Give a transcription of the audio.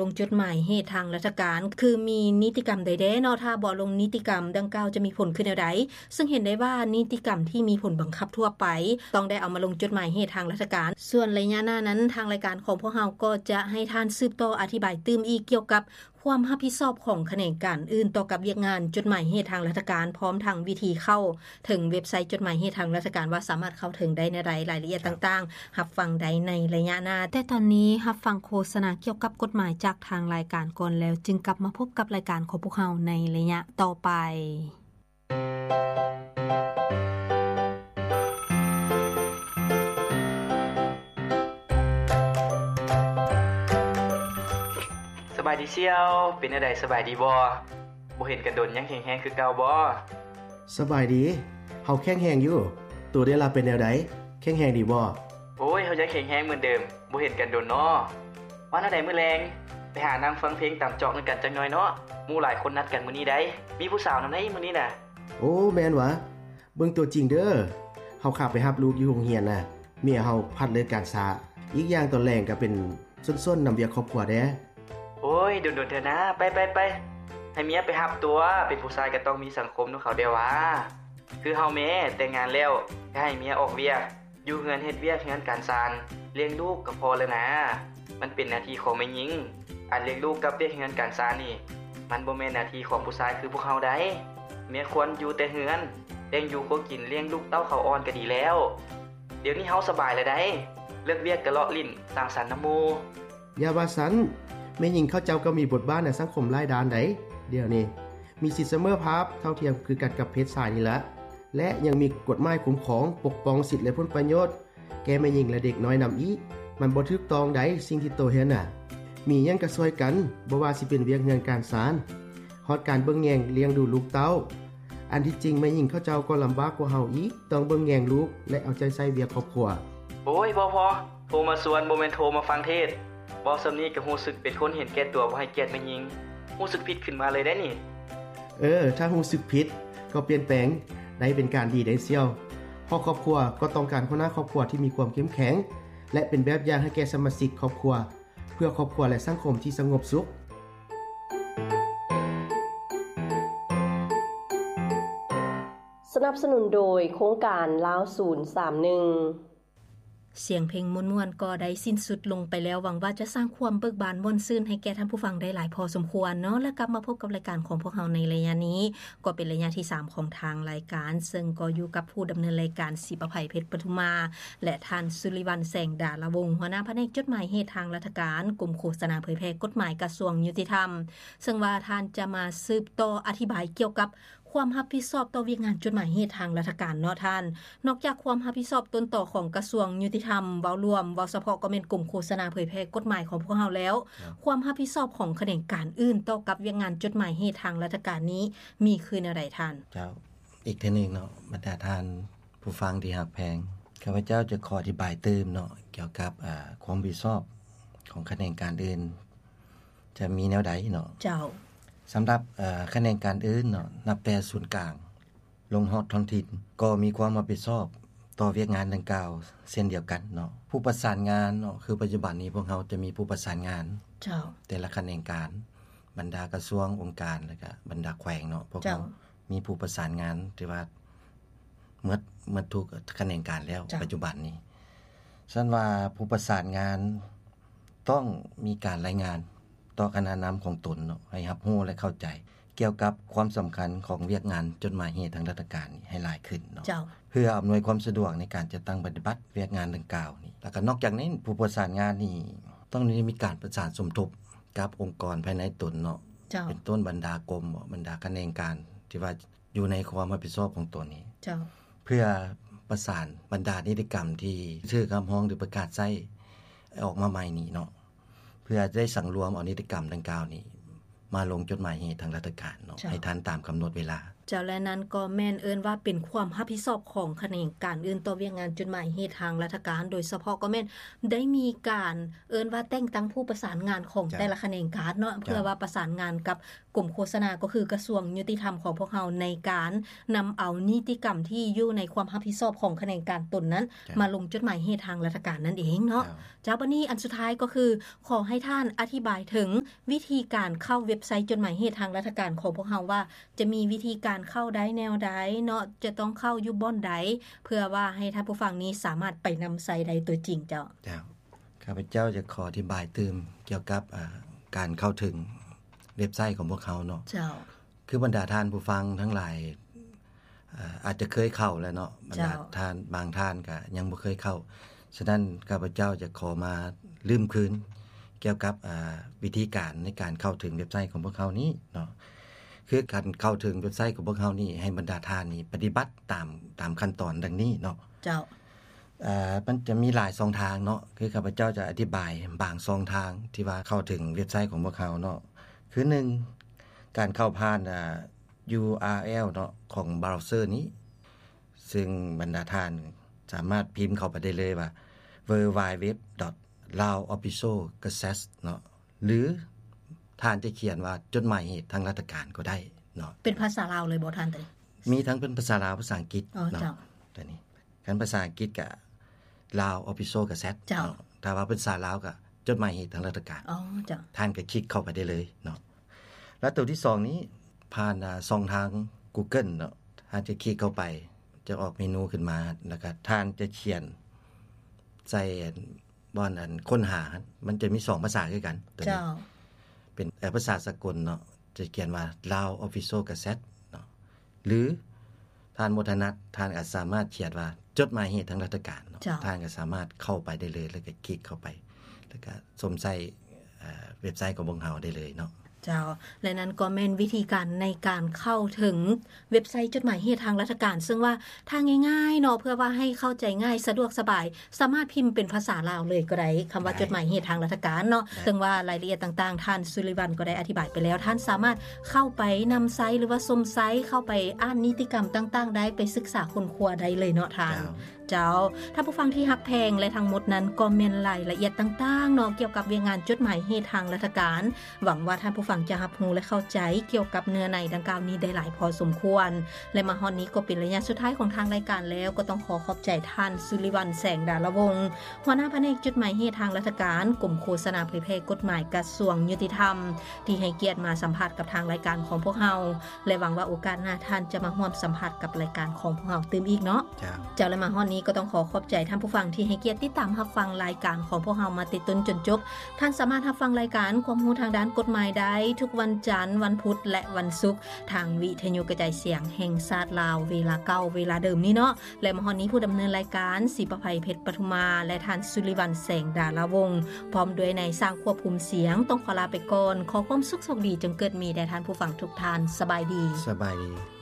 ລົງຈົດໝາຍເຫດທາງລັດຖະການ ຄືມີນິຕິກຳໃດແດ່ເນາະ? ຖ້າບໍ່ລົງນິຕິກຳດັ່ງກ່າວ ຈະມີຜົນຄືແນວໃດ? ເຊິ່ງເຫັນໄດ້ວ່ານິຕິກຳທີ່ມີຜົນບັງຄັບທົ່ວໄປ ຕ້ອງໄດ້ເອົາມາລົງຈົດໝາຍເຫດທາງລັດຖະການ. ສ່ວນໄລຍະໜ້ານັ້ນ ທາງລາຍການຂອງພວກເຮົາກໍຈະໃຫ້ທ່ານສືບຕໍ່ອະທິບາຍຕື່ມອີກ ກ່ຽວກັບຄວາມຮັບຜິດຊອບຂອງຂະແໜງການອື່ນຕໍ່ກັບວຽກງານຈົດໝາຍເຫດທາງລັດຖະການ ພ້ອມທັງວິທີເຂົ້າເຖິງເວັບໄຊຈົດໝາຍເຫດທາງລັດຖະການ ວ່າສາມາດເຂົ້າເຖິງໄດ້ແນວໃດ, ລາຍລະອຽດຕ່າງໆ ຮັບຟັງໄດ້ໃນໄລຍະໜ້າ. ແຕ່ຕອນນີ້ຮັບຟັງໂຄສະນາກ່ຽວກັບກົດໝາຍຈາກທາງລາຍການກ່ອນ ແລ້ວຈຶ່ງກັບມາພົບກັບລາຍການຂອງພວກເຮົາໃນໄລຍະຕໍ່ໄປ. ສະບາຍດີສ່ຽວ, ເປັນແນວໃດ ສະບາຍດີບໍ່? ບໍ່ເຫັນກັນດົນ ຍັງແຂງແຮງຄືເກົ່າບໍ່? ສະບາຍດີ, ເຮົາແຂງແຮງຢູ່. ໂຕເດລະເປັນແນວໃດ, ແຂງແຮງດີບໍ່? ໂອ້ຍ, ເຮົາຍັງແຂງແຮງເໝືອນເດີມ, ບໍ່ເຫັນກັນດົນເນາະ. ວ່າແນວໃດມື້ແລງ ໄປຫານັ່ງຟັງເພງຕາມຈອກນຳກັນຈັກໜ່ອຍເນາະ. ໝູ່ຫຼາຍຄົນນັດກັນມື້ນີ້ໃດ໋, ມີຜູ້ສາວນຳໃດ໋ມື້ນີ້ນະ. ໂອ້ ແມ່ນຫວາ? ເບິ່ງຕົວຈິງເດີ. ເຮົາຂ້າໄປຮັບລູກຢູ່ໂຮງຮຽນນະ, ເມຍເຮົາພັດເລີກການຊ້າ. ອີກຢ່າງຕອນແລງກໍເປັນຊົນໆນຳວຽກຄອບຄົວແດ່. ໂອ້ຍ ດົນໆເທື່ອນາ, ໄປໆໆ ໃຫ້ເມຍໄປຮັບຕົວະ. ເປັນຜູ້ຊາຍກໍຕ້ອງມີສັງຄົມນຳເຂົາແດ່ຫວາ. ຄືເຮົາແມ້ແຕ່ງງານແລ້ວ ກໍໃຫ້ເມຍອອກວຽກ, ຢູ່ເຮືອນເຮັດວຽກເຮືອນການຊານ, ລ້ຽງລູກກໍພໍແລ້ວນາ. ມັນເປັນໜ້າທີ່ຂອງແມ່ຍິງ. ອັນລ້ຽງລູກກັບວຽກເຮືອນການຊານນີ້ ມັນບໍ່ແມ່ນໜ້າທີ່ຂອງຜູ້ຊາຍຄືພວກເຮົາໃດ໋. ເມຍຄວນຢູ່ແຕ່ເຮືອນ, ລ້ຽງຢູ່ຄົວກິນ, ລ້ຽງລູກເຕົ້າເຂົາອ່ອນກໍດີແລ້ວ. ດຽວນີ້ເຮົາສະບາຍແລ້ວໃດ໋, ເລີກວຽກກໍເລາະຫຼິ້ນສັງສັນນຳໝູ່. ຢ່າວ່າຊັ້ນ, ແມ່ຍິງເຂົາເຈົ້າກໍມີບົດບາດໃນສັງຄົມຫຼາຍດ້ານໃດ໋. ດຽວນີ້ມີສິດສະເໝີພາບ, ເທົ່າທຽມຄືກັນກັບເພດຊາຍນີ້ລະ ແລະ ຍັງມີກົດໝາຍຄຸ້ມຄອງ, ປົກປ້ອງສິດ ແລະ ຜົນປະໂຫຍດແກ່ແມ່ຍິງ ແລະ ເດັກນ້ອຍນຳອີກ. ມັນບໍ່ຖືກຕ້ອງໃດ໋ ສິ່ງທີ່ໂຕເຮັດນະ. ມີຫຍັງກໍຊ່ວຍກັນ, ບໍ່ວ່າຊິເປັນວຽກເຮືອນການຊານ, ຮອດການເບິ່ງແຍງລ້ຽງດູລູກເຕົ້າ. ອັນທີ່ຈິງແມ່ຍິງເຂົາເຈົ້າກໍລຳບາກກວ່າເຮົາອີກ, ຕ້ອງເບິ່ງແຍງລູກ ແລະ ເອົາໃຈໃສ່ວຽກຄອບຄົວ. ໂອ້ຍ ພໍໆ, ໂທມາຊວນ ບໍ່ແມ່ນໂທມາຟັງເທດ. ເວົ້າສ່ຳນີ້ກໍຮູ້ສຶກເປັນຄົນເຫັນແກ່ຕົວ, ບໍ່ໃຫ້ກຽດແມ່ຍິງ. ຮູ້ສຶກຜິດຂຶ້ນມາເລີຍເດ້ນີ້. ເອີ, ຖ້າຮູ້ສຶກຜິດກໍປ່ຽນແປງໄດ້ເປັນການດີເດ້ສ່ຽວ. ເພາະຄອບຄົວກໍຕ້ອງການຫົວໜ້າຄອບຄົວທີ່ມີຄວາມເຂັ້ມແຂງ ແລະ ເປັນແບບຢ່າງໃຫ້ແກ່ສະມາຊິກຄອບຄົວ, ເພື່ອຄອບຄົວ ແລະ ສັງຄົມທີ່ສະຫງົບສຸກ. ສະໜັບສະໜູນໂດຍໂຄງການລາວສູນສາມໜຶ່ງ. ສຽງເພງມ່ວນໆກໍໄດ້ສິ້ນສຸດລົງໄປແລ້ວ. ຫວັງວ່າຈະສ້າງຄວາມເບີກບານມ່ວນຊື່ນໃຫ້ແກ່ທ່ານຜູ້ຟັງໄດ້ຫຼາຍພໍສົມຄວນເນາະ. ແລະ ກັບມາພົບກັບລາຍການຂອງພວກເຮົາໃນໄລຍະນີ້ ກໍເປັນໄລຍະທີສາມຂອງທາງລາຍການ, ເຊິ່ງກໍຢູ່ກັບຜູ້ດຳເນີນລາຍການ ສີປະໄພ ເພັດປະທຸມາ ແລະ ທ່ານ ສຸລິວັນ ແສງດາລະວົງ, ຫົວໜ້າພະແນກຈົດໝາຍເຫດທາງລັດຖະການ, ກົມໂຄສະນາເຜີຍແຜ່ກົດໝາຍ ກະຊວງຍຸຕິທຳ, ເຊິ່ງວ່າທ່ານຈະມາສືບຕໍ່ອະທິບາຍກ່ຽວກັບ ຄວາມຮັບຜິດຊອບຕໍ່ວຽກງານຈົດໝາຍເຫດທາງລັດຖະການເນາະທ່ານ. ນອກຈາກຄວາມຮັບຜິດຊອບຕົ້ນຕໍຂອງກະຊວງຍຸຕິທຳ ເວົ້າລວມ, ເວົ້າສະເພາະກໍແມ່ນກົມໂຄສະນາເຜີຍແຜ່ກົດໝາຍຂອງພວກເຮົາແລ້ວ, ຄວາມຮັບຜິດຊອບຂອງຂະແໜງການອື່ນຕໍ່ກັບວຽກງານຈົດໝາຍເຫດທາງລັດຖະການນີ້ ມີຄືແນວໃດທ່ານ? ເຈົ້າ, ອີກເທື່ອໜຶ່ງເນາະ, ບັນດາທ່ານຜູ້ຟັງທີ່ຮັກແພງ, ຂ້າພະເຈົ້າຈະຂໍອະທິບາຍຕື່ມເນາະ, ກ່ຽວກັບ ອາ ຄວາມຮັບຜິດຊອບຂອງຂະແໜງການອື່ນ ຈະມີແນວໃດເນາະ? ເຈົ້າ. ສຳລັບ ເອີ ຂະແໜງການອື່ນເນາະ, ນັບແຕ່ສູນກາງລົງຮອດທ້ອງຖິ່ນ ກໍມີຄວາມຮັບຜິດຊອບຕໍ່ວຽກງານດັ່ງກ່າວເຊັ່ນດຽວກັນເນາະ. ຜູ້ປະສານງານເນາະ, ຄືປັດຈຸບັນນີ້ພວກເຮົາຈະມີຜູ້ປະສານງານ ເຈົ້າ. ແຕ່ລະຂະແໜງການ, ບັນດາກະຊວງ, ອົງການ ແລະ ກະບັນດາແຂວງເນາະ, ພວກເຮົາ ເຈົ້າ. ມີຜູ້ປະສານງານທີ່ວ່າໝົດ, ໝົດທຸກຂະແໜງການແລ້ວ ເຈົ້າ. ປັດຈຸບັນນີ້, ຊັ້ນວ່າຜູ້ປະສານງານ ຕ້ອງມີການລາຍງານຕໍ່ຄະນະນຳຂອງຕົນເນາະ, ໃຫ້ຮັບຮູ້ ແລະ ເຂົ້າໃຈກ່ຽວກັບຄວາມສຳຄັນຂອງວຽກງານຈົດໝາຍເຫດທາງລັດຖະການນີ້ໃຫ້ຫຼາຍຂຶ້ນເນາະ, ເຈົ້າ. ເພື່ອອຳນວຍຄວາມສະດວກໃນການຈັດຕັ້ງປະຕິບັດວຽກງານດັ່ງກ່າວນີ້. ແລ້ວກໍນອກຈາກນີ້, ຜູ້ປະສານງານນີ້ຕ້ອງໄດ້ມີການປະສານສົມທົບກັບອົງກອນພາຍໃນຕົນເນາະ, ເຈົ້າ. ເປັນຕົ້ນບັນດາກົມ, ບັນດາຂະແໜງການທີ່ວ່າ ຢູ່ໃນຄວາມຮັບຜິດຊອບຂອງຕົນນີ້ ເຈົ້າ. ເພື່ອປະສານບັນດານິຕິກຳທີ່ຖືກຮັບຮອງ ຫຼື ປະກາດໃຊ້ອອກມາໃໝ່ນີ້ເນາະ, ເພື່ອໄດ້ສັງລວມເອົານິຕິກຳດັ່ງກ່າວນີ້ມາລົງຈົດໝາຍເຫດທາງລັດຖະການເນາະ, ເຈົ້າ. ໃຫ້ທັນຕາມກຳນົດເວລາ. ເຈົ້າ ແລະນັ້ນກໍແມ່ນເອີ້ນວ່າເປັນຄວາມຮັບຜິດຊອບຂອງຂະແໜງການອື່ນຕໍ່ວຽກງານຈົດໝາຍເຫດທາງລັດຖະການ ໂດຍສະເພາະກໍແມ່ນໄດ້ມີການເອີ້ນວ່າແຕ່ງຕັ້ງຜູ້ປະສານງານຂອງ ເຈົ້າ ແຕ່ລະຂະແໜງການເນາະ ເຈົ້າ ເພື່ອວ່າປະສານງານກັບກົມໂຄສະນາ ກໍຄືກະຊວງຍຸຕິທຳຂອງພວກເຮົາ ໃນການນຳເອົານິຕິກຳທີ່ຢູ່ໃນຄວາມຮັບຜິດຊອບຂອງຂະແໜງການຕົນນັ້ນ ເຈົ້າ ມາລົງຈົດໝາຍເຫດທາງລັດຖະການນັ້ນເອງເນາະ ເຈົ້າ ເຈົ້າ ບັດນີ້ອັນສຸດທ້າຍກໍຄື ຂໍໃຫ້ທ່ານອະທິບາຍເຖິງວິທີການເຂົ້າເວັບໄຊຈົດໝາຍເຫດທາງລັດຖະການຂອງພວກເຮົາວ່າ ຈະມີວິທີການເຂົ້າໄດ້ແນວໃດເນາະ ຈະຕ້ອງເຂົ້າຢູ່ບ່ອນໃດ ເພື່ອວ່າໃຫ້ທ່ານຜູ້ຟັງນີ້ສາມາດໄປນຳໃຊ້ໄດ້ຕົວຈິງເຈົ້າ. ເຈົ້າ ຂ້າພະເຈົ້າຈະຂໍອະທິບາຍຕື່ມກ່ຽວກັບ ເອີ ການເຂົ້າເຖິງເວັບໄຊຂອງພວກເຮົາເນາະ. ເຈົ້າ ຄືບັນດາທ່ານຜູ້ຟັງທັງຫຼາຍ ເອີ ອາດຈະເຄີຍເຂົ້າແລ້ວເນາະ ບັນດາ ເຈົ້າ ທ່ານ ບາງທ່ານກະຍັງບໍ່ເຄີຍເຂົ້າ. ສະນັ້ນ ຂ້າພະເຈົ້າຈະຂໍມາລືມຄືນກ່ຽວກັບ ເອີ ວິທີການໃນການເຂົ້າເຖິງເວັບໄຊຂອງພວກເຮົານີ້ເນາະ. ຄືການເຂົ້າເຖິງເວັບໄຊຂອງພວກເຮົານີ້ ໃຫ້ບັນດາທ່ານນີ້ປະຕິບັດຕາມ ຕາມຂັ້ນຕອນດັ່ງນີ້ເນາະ. ເຈົ້າ ເອີ ມັນຈະມີຫຼາຍຊ່ອງທາງເນາະ ຄືຂ້າພະເຈົ້າຈະອະທິບາຍບາງຊ່ອງທາງທີ່ວ່າເຂົ້າເຖິງເວັບໄຊຂອງພວກເຮົາເນາະ. ຄືໜຶ່ງ ການເຂົ້າຜ່ານ ເອີ ຢູອາແອລເນາະ ຂອງບຣາວເຊີນີ້ ຊຶ່ງບັນດາທ່ານສາມາດພິມເຂົ້າໄປໄດ້ເລີຍວ່າ www.laoofficialgazette ເນາະ ຫຼືທ່ານຈະຂຽນວ່າຈົດໝາຍເຫດທາງລັດຖະການກໍໄດ້ເນາະ. ເປັນພາສາລາວເລີຍບໍ່ທ່ານ? ໂຕນີ້ມີທັງເປັນພາສາລາວ ພາສາອັງກິດເນາະ ເຈົ້າ ໂຕນີ້. ຄັນພາສາອັງກິດກະ Lao Official Gazette ເຈົ້າ ເນາະ. ຖ້າວ່າເປັນພາສາລາວກະ ຈົດໝາຍເຫດທາງລັດຖະການ ອໍ ເຈົ້າ ທ່ານກະຄລິກເຂົ້າໄປໄດ້ເລີຍເນາະ. ແລ້ວໂຕທີສອງນີ້ ຜ່ານ ອາ ຊ່ອງທາງ Google ເນາະ ທ່ານຈະຄລິກເຂົ້າໄປ ຈະອອກເມນູຂຶ້ນມາ ແລ້ວກະທ່ານຈະຂຽນໃສ່ອັນ ບ່ອນອັນຄົ້ນຫາ ມັນຈະມີສອງພາສາຄືກັນ ໂຕນີ້ ເຈົ້າ ເປັນ ເອີ ພາສາສາກົນເນາະ ຈະຂຽນວ່າ Lao Official Gazette ເນາະ ຫຼືທ່ານບໍ່ຖະໜັດ ທ່ານອາດສາມາດຂຽນວ່າ ຈົດໝາຍເຫດທາງລັດຖະການເນາະ ເຈົ້າ ທ່ານກໍສາມາດເຂົ້າໄປໄດ້ເລີຍ ແລ້ວກໍຄລິກເຂົ້າໄປ ແລ້ວກໍຊົມໃຊ້ ເອີ ເວັບໄຊຂອງພວກເຮົາໄດ້ເລີຍເນາະ. ເຈົ້າ ແລະນັ້ນກໍແມ່ນວິທີການໃນການເຂົ້າເຖິງເວັບໄຊຈົດໝາຍເຫດທາງລັດຖະການ ເຊິ່ງວ່າຖ້າງ່າຍໆເນາະ ເພື່ອວ່າໃຫ້ເຂົ້າໃຈງ່າຍ ສະດວກສະບາຍ ສາມາດພິມເປັນພາສາລາວເລີຍກໍໄດ້ ຄຳວ່າ ໄດ້ ຈົດໝາຍເຫດທາງລັດຖະການເນາະ ໄດ້ ເຊິ່ງວ່າລາຍລະອຽດຕ່າງໆ ທ່ານສຸລິວັນກໍໄດ້ອະທິບາຍໄປແລ້ວ ທ່ານສາມາດເຂົ້າໄປນຳໃຊ້ ຫຼືວ່າຊົມໃຊ້ ເຂົ້າໄປອ່ານນິຕິກຳຕ່າງໆໄດ້ ໄປສຶກສາຄົ້ນຄວ້າໄດ້ເລີຍເນາະທ່ານ. ເຈົ້າ ເຈົ້າ ທ່ານຜູ້ຟັງທີ່ຮັກແພງ ແລະທັງໝົດນັ້ນກໍແມ່ນລາຍລະອຽດຕ່າງໆເນາະ ກ່ຽວກັບວຽກງານຈົດໝາຍເຫດທາງລັດຖະການ. ຫວັງວ່າທ່ານຜູ້ຟັງຈະຮັບຮູ້ ແລະເຂົ້າໃຈກ່ຽວກັບເນື້ອໃນດັ່ງກ່າວນີ້ໄດ້ຫຼາຍພໍສົມຄວນ ແລະມາຮອດນີ້ກໍເປັນໄລຍະສຸດທ້າຍຂອງທາງລາຍການແລ້ວ ກໍຕ້ອງຂໍຂອບໃຈທ່ານສຸລິວັນ ແສງດາລະວົງ ຫົວໜ້າພະແນກຈົດໝາຍເຫດທາງລັດຖະການ ກົມໂຄສະນາເຜີຍແຜ່ກົດໝາຍກະຊວງຍຸຕິທຳ ທີ່ໃຫ້ກຽດມາສຳພາດກັບທາງລາຍການຂອງພວກເຮົາ ແລະຫວັງວ່າໂອກາດໜ້າທ່ານຈະມາຮ່ວມສຳພາດກັບລາຍການຂອງພວກເຮົາຕື່ມອີກເນາະ. ເຈົ້າ ເຈົ້າ ແລະມາຮອດນີ້ກໍຕ້ອງຂໍຂອບໃຈທ່ານຜູ້ຟັງທີ່ໃຫ້ກຽດຕິດຕາມຮັບຟັງລາຍການຂອງພວກເຮົາມາແຕ່ຕົ້ນຈົນຈົບ. ທ່ານສາມາດຮັບຟັງລາຍການຄວາມຮູ້ທາງດ້ານກົດໝາຍໄດ້ທຸກວັນຈັນ, ວັນພຸດ ແລະ ວັນສຸກ ທາງວິທະຍຸກະຈາຍສຽງແຫ່ງຊາດລາວ ເວລາເກົ່າ ເວລາເດີມນີ້ເນາະ. ແລະມາຮອດນີ້ຜູ້ດຳເນີນລາຍການ ສີປະໄພ ເພັດປະທຸມາ ແລະ ທ່ານສຸລິວັນ ແສງດາລາວົງ ພ້ອມດ້ວຍນາຍຊ່າງຄວບຄຸມສຽງ ຕ້ອງຂໍລາໄປກ່ອນ. ຂໍຄວາມສຸກໂຊກດີຈົ່ງເກີດມີແດ່ທ່ານຜູ້ຟັງທຸກທ່ານ. ສະບາຍດີ. ສະບາຍດີ.